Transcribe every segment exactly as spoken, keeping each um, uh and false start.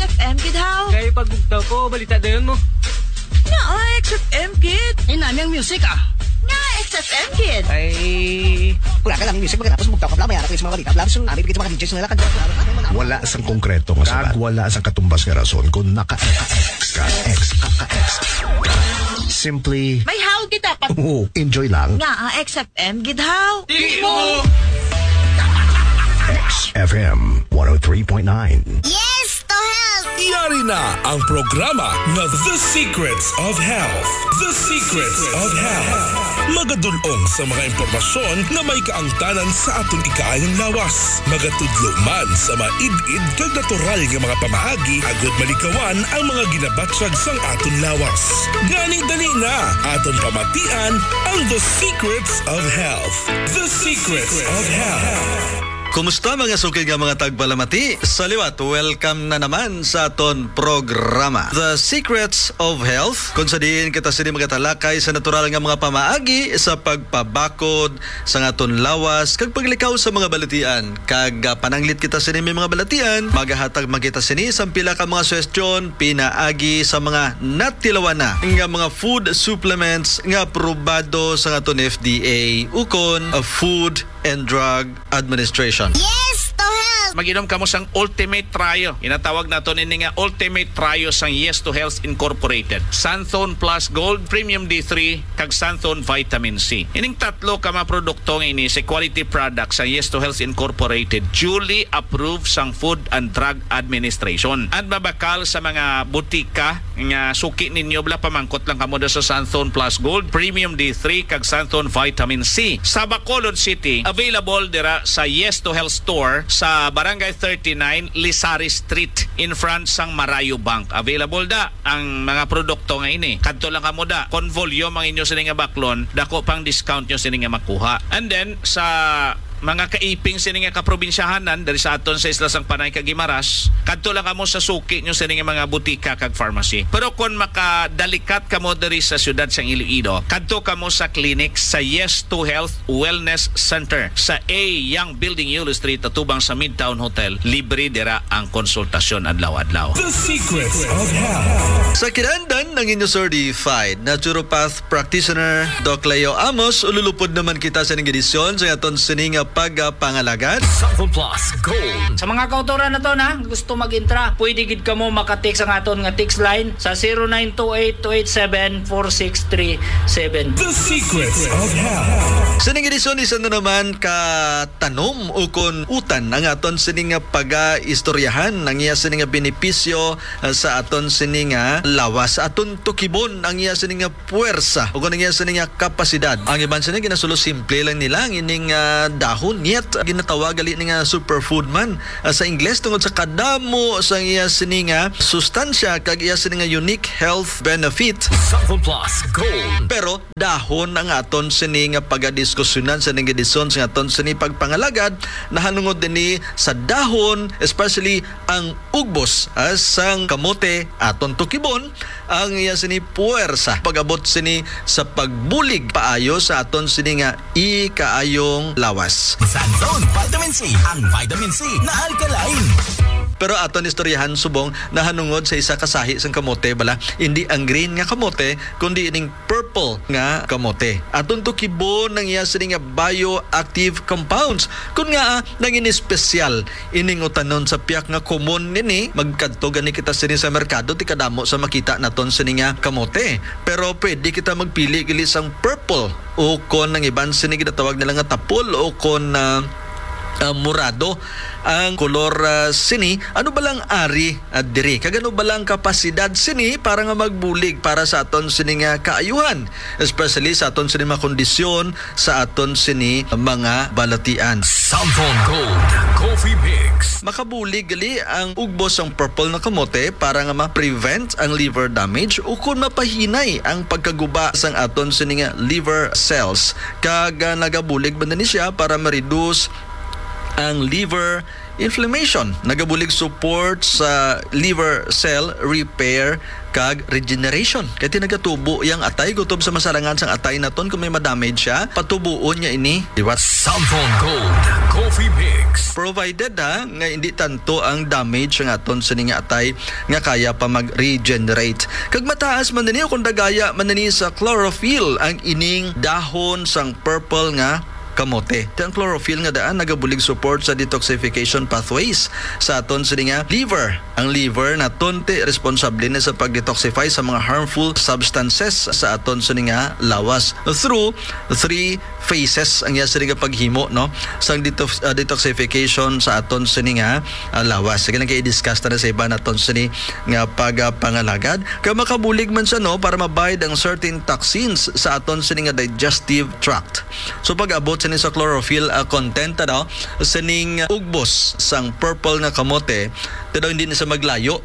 F M gid haw. Kay pag bugtaw ko, balita dayon mo. Nga, ah, X F M gid. Ay, nami ang music, ah. Nga, X F M gid. Ay, wala ka lang music, pagkatapos bugtaw ka, bla, may harap sa mga balita, bla, so, nami bigay sa mga D Js na lang, kadwa, bla, bla, bla, bla, bla. Wala sang konkreto nga Kag sulat. Wala sang katumbas nga rason kung naka-X ka, X ka, X ka. Simply, May haw gid dapat. Oo, enjoy lang. Nga, ah, X F M gid haw. Di mo. X F M one oh three point nine. Yes to health! Yari na ang programa nga The Secrets of Health. The Secrets of Health. Magadulong sa mga impormasyon nga may kaangtanan sa aton ikaayong lawas. Magatudlo man sa maid-id kag natural nga mga pamaagi agud malikawan ang mga ginabatyag sang aton lawas. Gani, dali na, aton pamatian ang The Secrets of Health. The Secrets of Health. Kumusta, mga suki nga mga tagpalamati? Sa liwat, welcome na naman sa aton programa, The Secrets of Health, kung sa diin kita sini magatalakay sa natural nga mga pamaagi sa pagpabakod sa aton lawas kag paglikaw sa mga balatian. Kag, ah, pananglit kita sini may mga balatian, magahatag man kita sini sang pila ka mga suhestyon pinaagi sa mga natilawan na nga mga food supplements nga aprobado sa aton F D A ukon, ah, Food and Drug Administration. Yes to health! Mag-inom kamo sang Ultimate Trio. Ginatawag naton ini nga Ultimate Trio sang Yes to Health Incorporated. Santhon Plus Gold, Premium D three, kag Santhon Vitamin C. Ining tatlo ka mga produkto nga ini sa quality product sa Yes to Health Incorporated, duly approved sang Food and Drug Administration. At mabakal sa mga butika nga suki ninyo, bala, pamangkot lang kamo da sa Santhon Plus Gold, Premium D three, kag Santhon Vitamin C. Sa Bacolod City, available dira sa Yes to Health Store sa Barangay thirty-nine, Lizares Street, in front sang Marayo Bank. Available da ang mga produkto nga ini. Kadto lang kamo da. Kon volume ang inyo sini nga baklon, dako pang discount nyo sini nga makuha. And then, sa mga kaiping sini nga kaprobinsyahanan diri sa aton sa Isla sang Panay kag Guimaras, kadto lang kamo sa suki nyo sini nga mga butika kag pharmacy. Pero kon makadalikat kamo diri sa siyudad sang Iloilo, kadto kamo sa clinic sa Yes to Health Wellness Center sa A Young Building, Yulo Street, atubang sa Midtown Hotel. Libre dira ang konsultasyon adlaw-adlaw. The Secrets of Health. Sa kinahanglan ang inyo certified naturopath practitioner, Doc Leo Amos, ululupod naman kita sa ining edisyon sa aton sini nga pagpangalagad. Santhon Plus Gold. Sa mga kautoran nato na gusto mag-intra, pwede gid kamo maka-text ang aton nga text line sa zero nine two eight two eight seven four six three seven. The Secrets of Health. Sa ining edisyon, isa na naman ka tanom ukon utan ang aton sini nga pagaistoryahan, ang iya sini nga benepisyo, ah, sa aton sini nga lawas, sa aton tukibon, ang iya sini nga puwersa, ukon ang iya sini nga kapasidad. Ang iban sini ginasulo, simple lang nila ang ining, ah, dahon, yet ginatawag gali ni nga superfood man, ah, sa Ingles tungod sa kadamo sa iya sini nga sustansya kag iya sini nga unique health benefit. Santhon Plus Gold. Pero dahon ang aton sini nga pagadiskusyonan sa ning edisyon sa aton sini pagpangalagad, nahanungod ini sa dahon, especially ang ugbos, ah, sang kamote, aton tukibon ang iya sini puwersa pag-abot sini sa pagbulig paayo sa aton sini nga ikaayong lawas. Santhon Vitamin C, ang vitamin C na alkaline. Pero aton istoryahan subong nahanungod sa isa ka sahi sang kamote, bala, hindi ang green nga kamote, kundi ining purple nga kamote. Aton tukibon ang iya sini nga bioactive compounds. Kun ngaa nangin espesyal ining utanon sa piyak nga komon nini, magkadto gani kita sini sa merkado, ti kadamo sa makita naton sini nga kamote. Pero pwede kita magpili gali sang purple o kon ang iban sini ginatawag nila nga tapol o kon, ah, ah, morado ang kolor, ah, sini. Ano ba lang ari, ah, diri? Kag ano ba lang kapasidad sini para nga magbulig para sa aton sini nga kaayuhan, especially sa aton sini mga kondisyon, sa aton sini mga balatian? Santhon Gold Coffee Mix. Makabulig gali ang ugbos sang purple na kamote para nga ma-prevent ang liver damage o kon mapahinay ang pagkaguba sang aton sini nga liver cells. Kag, ah, nagabulig man ni siya para ma-reduce ang liver Inflammation, nagabulig support sa liver cell repair kag regeneration. Kay ti nagatubo yang atay kutob sa masarangan sang atay naton kung may madamage siya, patubuon niya ini liwat. Samson Gold Coffee Mix. Provided ha, nga hindi tanto ang damage nga aton sini nga atay nga kaya pa mag-regenerate. Kag mataas man nini o kung dagaya man nini sa chlorophyll ang ining dahon sang purple nga kamote. Ti ang chlorophyll nga daan nagabulig support sa detoxification pathways sa aton sini nga liver. Ang liver naton ti responsable ni sa pag-detoxify sa mga harmful substances sa aton sini nga lawas through three phases ang iya sini nga paghimo, no, sang detox-, ah, detoxification sa aton sini nga, ah, lawas. Sige lang kay i-discuss ta na sa iba naton sini nga pagapangalagad. Kay makabulig man siya, no, para mabayad ang certain toxins sa aton sini nga digestive tract. So pag-abot sini sa chlorophyll, ah, content, ano, sining ugbos sang purple nga kamote, ti daw hindi na siya maglayo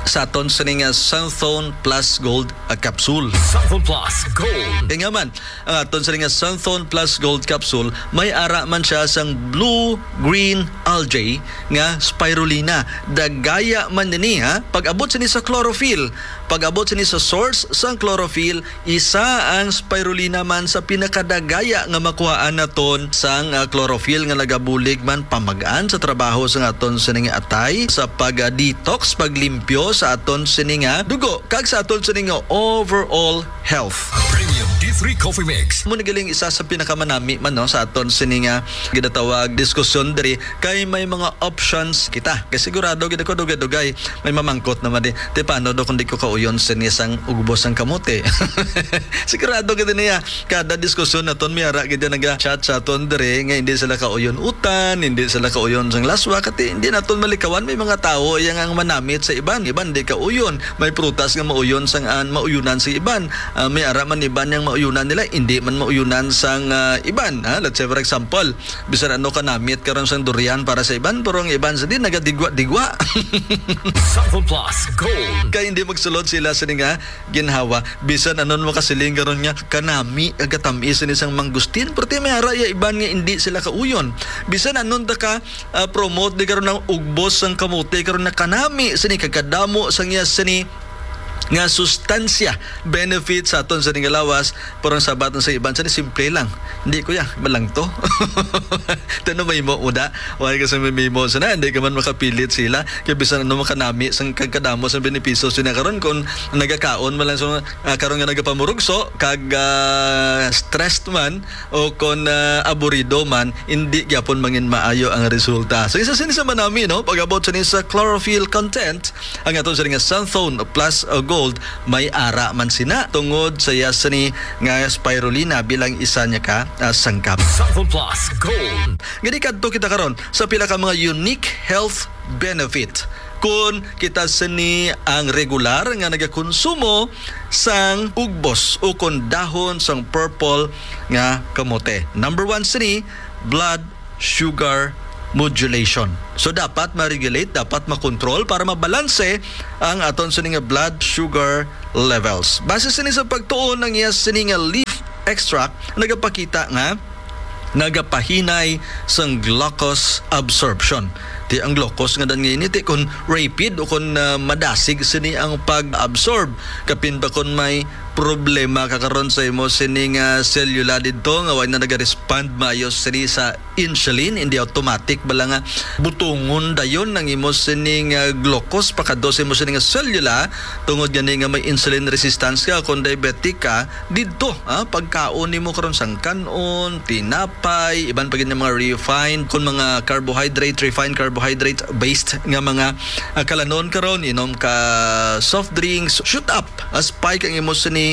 sa aton sining, ah, Santhone Plus Gold, ah, capsule. Santhone Plus Gold. Kaya nga man, ang aton sining, ah, Santhone Plus Gold capsule, may ara man siya sang blue-green algae nga spirulina. Dagaya man nini, ha? Pag-abot sini sa chlorophyll, pag-abot sini sa source sang chlorophyll, isa ang spirulina man sa pinakadagaya nga makuhaan naton sang, ah, chlorophyll nga nagabulig man pamag-an sa trabaho sang aton sining atay sa pag-detox, paglimpyo sa aton sini nga dugo kag sa aton sini nga overall health. Premium D three Coffee Mix. Mo na galing isa sa pinakamanami man, no, sa aton sini nga ginatawag diskusyon diri kay may mga options kita. Kay sigurado gid ako dugay-dugay may mamangkot naman di. Ti paano do kung di ko kauyon sini sang ugbos sang kamote? Sigurado gid niya. Kada diskusyon naton may ara gid naga-chat sa aton diri nga hindi sila kauyon utan, hindi sila kauyon sang laswa, kati hindi naton malikawan may mga tawo yang ang manamit sa iban, iban di kauyon. May prutas nga mauyon sang an mauyunan sa iban. Ah, may ara man iban yang mauyunan nila, hindi man mauyunan sang, ah, iban. Ha? Let's say for example, bisan ano ka namit karon sang durian para sa iban, pero ang iban sa di nagadigwa-digwa. Sample Plus Gold. Kay hindi magsulod sila sa nga ginhawa. Bisan anon makasiling karon nga kanami, kagatamis ni sang mangustin, pero ti may ara ya iban nga hindi sila kauyon. Bisan anon ta ka, ah, promote di karon ang ugbos sang kamote karon nga kanami sini, kagkadamo sang iya sini nga sustansya, benefit sa aton sa nga lawas, pero ang sabat sa iban sa simple lang. Hindi, kuya, malangto. Tano may mo muda. Wala ka sa may mo sana, hindi ka man makapilit sila. Kaya bisan ano makanami sang kagkadamo sa benepisyo sina karon kung nagakaon man lang sa, ah, karon nga nagapamurugso kag, ah, stressed man o kon, ah, aburido man, hindi gyapon mangin maayo ang resulta. So isa sini sa manami, no, pag-abot sini sa chlorophyll content, ang aton sini nga Santhone Plus, uh, Gold, may ara man sina tungod sa iya sini nga spirulina bilang isa niya ka, uh, sangkap. Santhone Plus Gold. Gani kadto kita karon sa pila ka mga unique health benefit. Kun kita sini ang regular nga nagakonsumo sang ugbos o kon dahon sang purple nga kamote. Number one sini, blood sugar modulation. So dapat ma-regulate, dapat makontrol para mabalanse ang aton sini nga blood sugar levels. Base sini sa pagtuon ang iya sini nga leaf extract nagapakita nga nagapahinay sang glucose absorption. Ti ang glucose nga dan nga ini ti kun rapid o kun, ah, madasig sini ang pag-absorb, kapin pa kun may problema ka karon sa imo sini nga selula didto nga wala na naga-respond maayo sini sa insulin, hindi automatic bala nga butungon dayon ang imo sini nga glucose pakadto sa imo sini nga selula, tungod gani nga may insulin resistance ka, kung diabetic ka, didto, ah, pagkaon nimo karon sang kan-on, tinapay, iban pa gid nga mga refined, kung mga carbohydrate, refined carbohydrate based nga mga, ah, kalanon karon, inom ka soft drinks, shoot up, ah, spike ang imo sini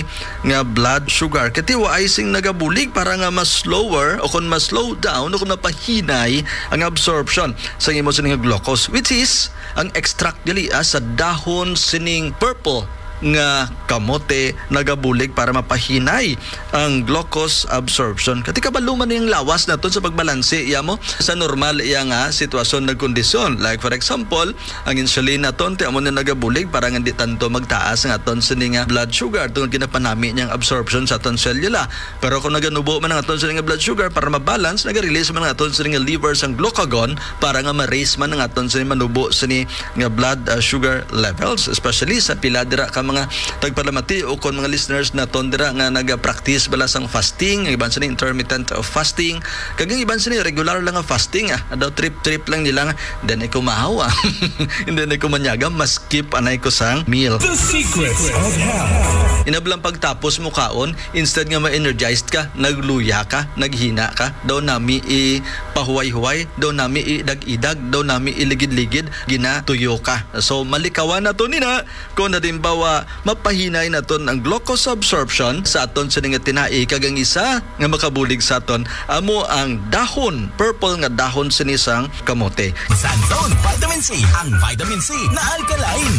nga blood sugar. Katiwa ay sing nagabulig para nga mas slower o kung mas slow down o kung mapahinay ang absorption sa imo sini nga glucose, which is ang extract gali, ah, sa dahon sining purple nga kamote nagabulig para mapahinay ang glucose absorption. Kati kabalo man yung lawas naton sa pagbalanse, iya mo, sa normal iya nga sitwasyon nag kondisyon. Like for example, ang insulin naton, ti amo na nagabulig para nga di tanto magtaas ang aton sini nga blood sugar tungod ginapanami niyang absorption sa aton selula. Pero kung naganubo man ang aton sini nga blood sugar, para mabalance, nag-release man ang aton sini nga liver sang glucagon para nga ma-raise man ang aton sini manubo sini nga blood, ah, sugar levels, especially sa pila dira ka mga tagpalamati o kon mga listeners naton dira nga nagapractice bala sang fasting, ang iban sini intermittent fasting, kag ang iban sini regular lang nga fasting, ah, daw trip-trip lang nila nga, "Hindi na ko mahawa, hindi na ko manyaga, maskip anay ko sang meal." The Secrets of Health. Inablang pagtapos mo kaon, instead nga ma-energized ka, nagluya ka, naghina ka, daw nami ipahuway-huway, daw nami idag-idag, daw nami iligid-ligid, ginatuyo ka. So, malikawan nato nina kung halimbawa mapahinay naton ang glucose absorption sa aton sini nga tinai, kag ang isa nga makabulig sa aton amo ang dahon, purple nga dahon sini sang kamote. Santon Vitamin C, ang vitamin C na alkaline.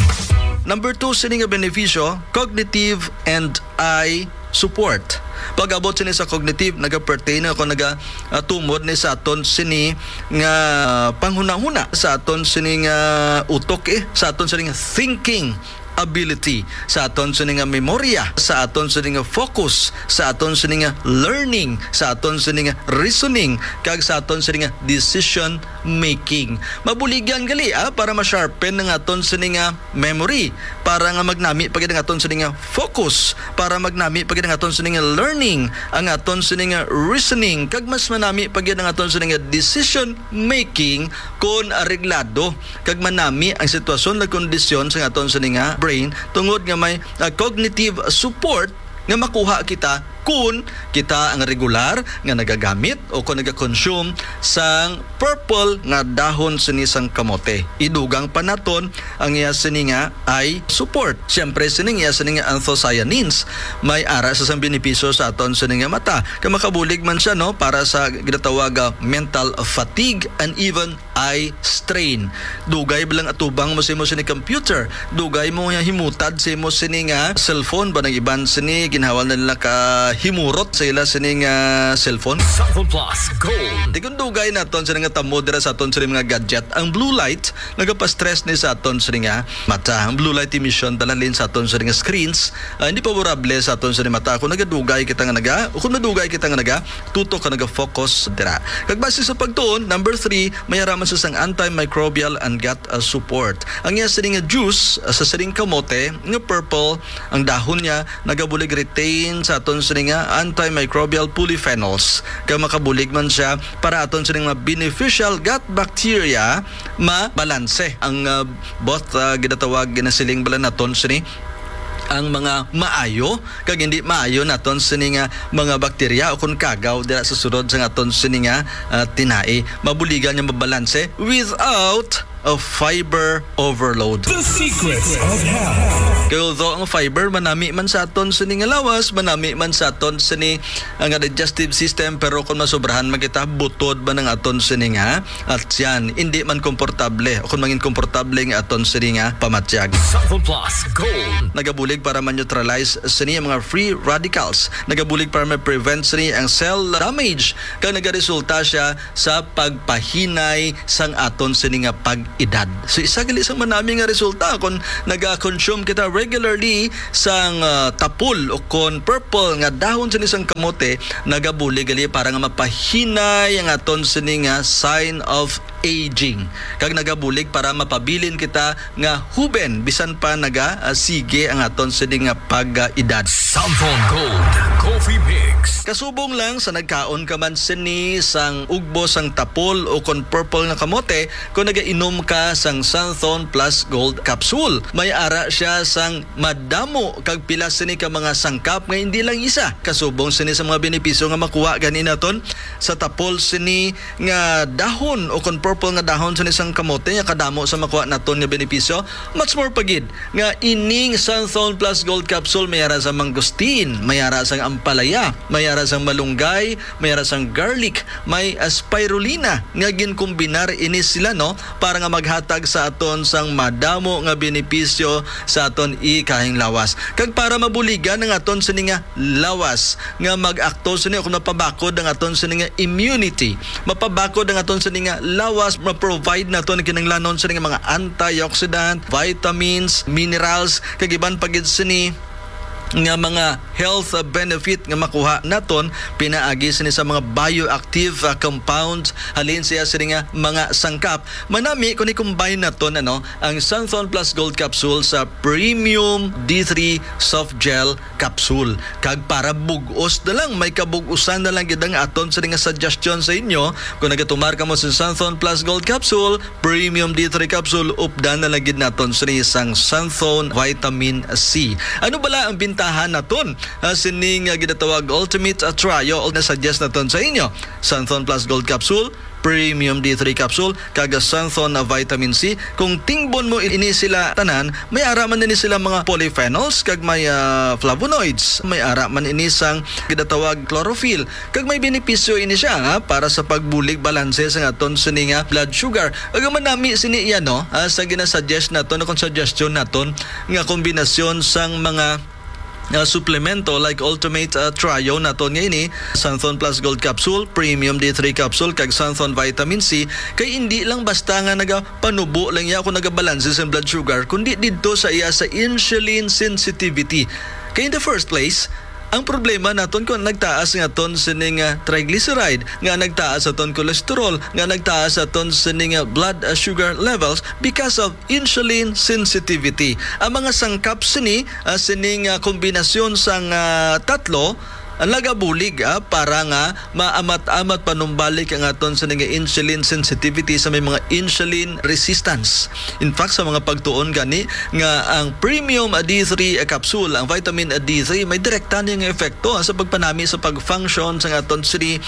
Number two sini nga benepisyo, cognitive and eye support. Pag-abot sini sa cognitive, nagapertain ako, naga, ah, tumod ni sa aton sini nga panghunahuna, sa aton sini nga utok, eh, sa aton sini nga thinking ability, sa aton sini nga memorya, sa aton sini nga focus, sa aton sini nga learning, sa aton sini nga reasoning, kag sa aton sini nga decision making. Mabuligan gali, ah, para ma-sharpen ang aton sini nga memory, para nga magnami pa gid ang aton sini nga focus, para magnami pa gid ang aton sini nga learning, ang aton sini nga reasoning, kag mas manami pa gid ang aton sini nga decision making kon areglado kag manami ang sitwasyon ug kondisyon sa aton sini nga brain tungod nga may, ah, cognitive support nga makuha kita kun kita ang regular nga nagagamit o kon nagakonsume sang purple nga dahon sini sang kamote. Idugang pa naton ang iya sini nga eye support. Siyempre, sining iya sini nga anthocyanins may ara sa sang benepisyo sa aton sini nga mata. Kay makabulig man siya, no, para sa ginatawag, ah, mental fatigue and even eye strain. Dugay ba lang atubang mo sa imo sini computer? Dugay mo nga himutad sa imo sini nga cellphone ba, nang iban sini ginhawal na nila ka himurot sa ila sini nga cellphone? Cellphone Plus Gold. Di kun dugay naton sini nga tamo dira sa aton sini mga gadget. Ang blue light nagapastress ni sa aton sini nga mata. Ang blue light emission dalalin sa aton sini nga screens, ah, hindi favorable sa aton sini mata. Kung nagadugay kita nga naga, o kung madugay kita nga naga, tutok ka naga-focus dira. Kag base sa pagtuon, number three, may ara man sa sang antimicrobial and gut, uh, support. Ang iya sining nga juice, uh, sa sining kamote nga purple, ang dahon niya nagabulig retain sa aton sining nga antimicrobial polyphenols. Kag makabulig man siya para aton sining mga beneficial gut bacteria mabalanse ang, uh, both, uh, ginatawag, ginasiling bala naton sini ang mga maayo kag hindi maayo naton sini nga mga bakterya o kon kagaw dira sa sulod sang aton sini nga, ah, tinai. Mabuligan nga mabalanse without a fiber overload. The Secrets of Health. Kay although ang fiber manami man sa aton sini nga lawas, manami man sa aton sini, ah, nga digestive system, pero kung masobrahan man kita, butod man ang aton sini nga at yan, hindi man komportable o kung mangin komportable nga aton sini nga pamatyag. Santon Plus Gold. Nagabulig para ma-neutralize sini ang mga free radicals. Nagabulig para ma-prevent sini ang cell damage. Kag nagaresulta siya sa pagpahinay sang aton sini nga pag-edad. So, isa gali sang manami nga resulta kung naga-consume kita regularly sang, ah, tapol o kon purple nga dahon sini sang kamote, nagabulig gali para nga mapahinay ang aton sini nga sign of aging. Kag nagabulig para mapabilin kita nga huben bisan pa naga, ah, sige ang aton sini nga pag-edad. Samson Gold Coffee Mix. Kasubong lang sa nagkaon ka man sini sang ugbo sang tapol o kon purple nga kamote, kung nagainom ka sang Samson Plus Gold Capsule, may ara siya sang madamo kag pila sini ka mga sangkap nga hindi lang isa. Kasubong sini sa mga benepisyo nga makuha gani naton sa tapol sini nga dahon o kon purple nga dahon sa isang kamote nga kadamo sa makuha naton nga benepisyo. Much more pa gid nga ining Santhon Plus Gold Capsule may ara sa mangosteen, may ara sang ampalaya, may ara sang malunggay, may ara sang garlic, may, ah, spirulina nga ginkombinar ini sila, no, para nga maghatag sa aton sang madamo nga benepisyo sa aton ikahing lawas. Kag para mabuligan ang aton sini nga lawas nga mag-akto sini o kung mapabakod ang aton sini nga immunity, mapabakod ang aton sini nga lawas, ma-provide naton ang kinahanglanon sini nga mga antioxidant, vitamins, minerals, kag iban pa gid sini nga mga health benefit nga makuha naton pinaagi sini sa mga bioactive, ah, compounds halin siya sini nga mga sangkap. Manami kung i-combine naton, ano, ang Santhon Plus Gold Capsule sa Premium D three Soft Gel Capsule. Kag para bug-os na lang, may kabug-usan na lang gid ang aton sini nga suggestion sa inyo. Kung nagatumar kamo sa Santhon Plus Gold Capsule, Premium D three Capsule, updan na lang gid naton sini sang Santhon Vitamin C. Ano bala ang bintahan naton, ah, sini nga ginatawag Ultimate, ah, Trio? O na-suggest naton sa inyo, Santhon Plus Gold Capsule, Premium D three Capsule, kag Santhon na Vitamin C. Kung tingbon mo ini sila tanan, may ara man ini sila mga polyphenols kag may, ah, flavonoids. May ara man ini sang ginatawag chlorophyll. Kag may benepisyo ini siya, ha, para sa pagbulig balanse sa aton sini nga blood sugar. Ug ang manami sini iya, no, ah, sa ginasuggest naton, kung suggestion naton nga kombinasyon sang mga, ah, suplemento like Ultimate, ah, Trio naton nga ini, Santhon Plus Gold Capsule, Premium D three Capsule, kag Santhon Vitamin C, kay hindi lang basta nga nagapanubo lang iya kung nagabalanse sa blood sugar, kundi didto sa iya sa insulin sensitivity. Kay in the first place, ang problema naton kung nagtaas nga aton sining, ah, triglyceride, nga nagtaas aton cholesterol, nga nagtaas aton sining, ah, blood, ah, sugar levels because of insulin sensitivity. Ang mga sangkap sini, ah, sining, ah, kombinasyon sang, ah, tatlo, ang nagabulig, ah, para nga maamat-amat panumbalik ang aton sining, ah, insulin sensitivity sa may mga insulin resistance. In fact, sa mga pagtuon gani nga ang premium D three capsule, ang vitamin D three, may direkta niya nga epekto sa pagpanami sa pag-function sa aton sini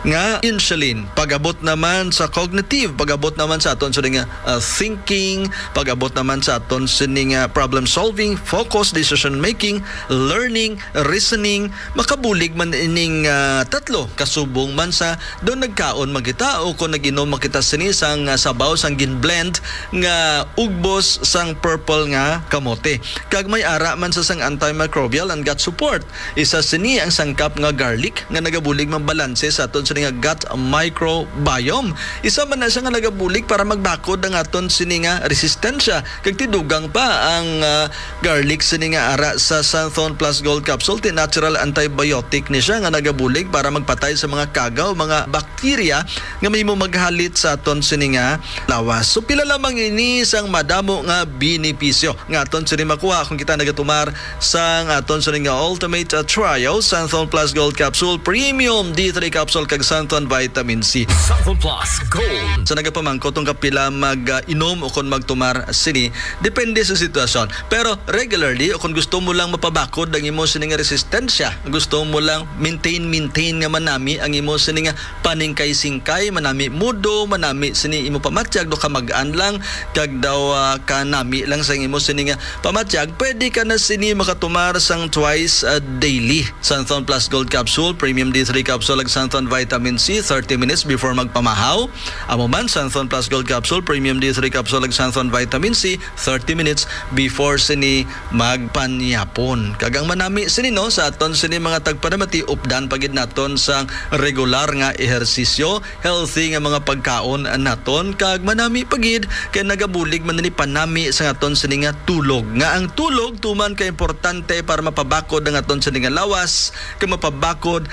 nga insulin. Pag-abot naman sa cognitive, pag-abot naman sa aton sini nga, uh, thinking, pag-abot naman sa aton sini nga problem solving, focus, decision making, learning, reasoning, makabulig man ining, ah, tatlo, kasubong man sa daw nagkaon man kita o kung nag-inom man kita sini sang, ah, sabaw sang gin-blend nga ugbos sang purple nga kamote. Kag may ara man sa sang antimicrobial and gut support. Isa sini ang sangkap nga garlic nga nagabulig man balanse sa aton sini nga gut microbiome. Isa man na siya nga nagabulig para magbakod ang aton sini nga resistensya. Kag tidugang pa ang, ah, garlic sini nga ara sa Santhon Plus Gold Capsule, ti natural antibiotic ni siya nga nagabulig para magpatay sa mga kagaw, mga bakterya nga mahimo maghalit sa aton sini nga lawas. So, pila lamang ini sang madamo nga benepisyo nga aton sini makuha kung kita nagatumar sang aton sini nga Ultimate, uh, Trio, Santhon Plus Gold Capsule, Premium D three Capsule, kag Santhon Vitamin C. Santhon Plus Gold. Sa nagapamangkot kung kapila mag, uh, inom o kung magtumar sini, depende sa sitwasyon. Pero regularly, o kung gusto mo lang mapabakod ang imo sini nga resistensya, gusto mo lang maintain, maintain nga manami ang imo sini nga paningkay-singkay, manami mudo, manami sini imo pamatyag, do kamag-an lang, kag daw, ah, kanami lang sa imo sini nga pamatyag, pwede ka na sini makatumar sang twice, ah, daily. Santhon Plus Gold Capsule, Premium D three Capsule, ug Santhon Vitamin C, thirty minutes before magpamahaw. Amo man, Santhon Plus Gold Capsule, Premium D three Capsule, ug Santhon Vitamin C, thirty minutes before sini magpanyapon. Kag ang manami sini, no, sa aton sini mga tagpanamati, updan pa gid naton sang regular nga ehersisyo, healthy nga mga pagkaon naton, kag manami pa gid kay nagabulig man ni panami sa aton sini nga tulog. Nga ang tulog tuman ka importante para mapabakod ang aton sini nga lawas, kag mapabakod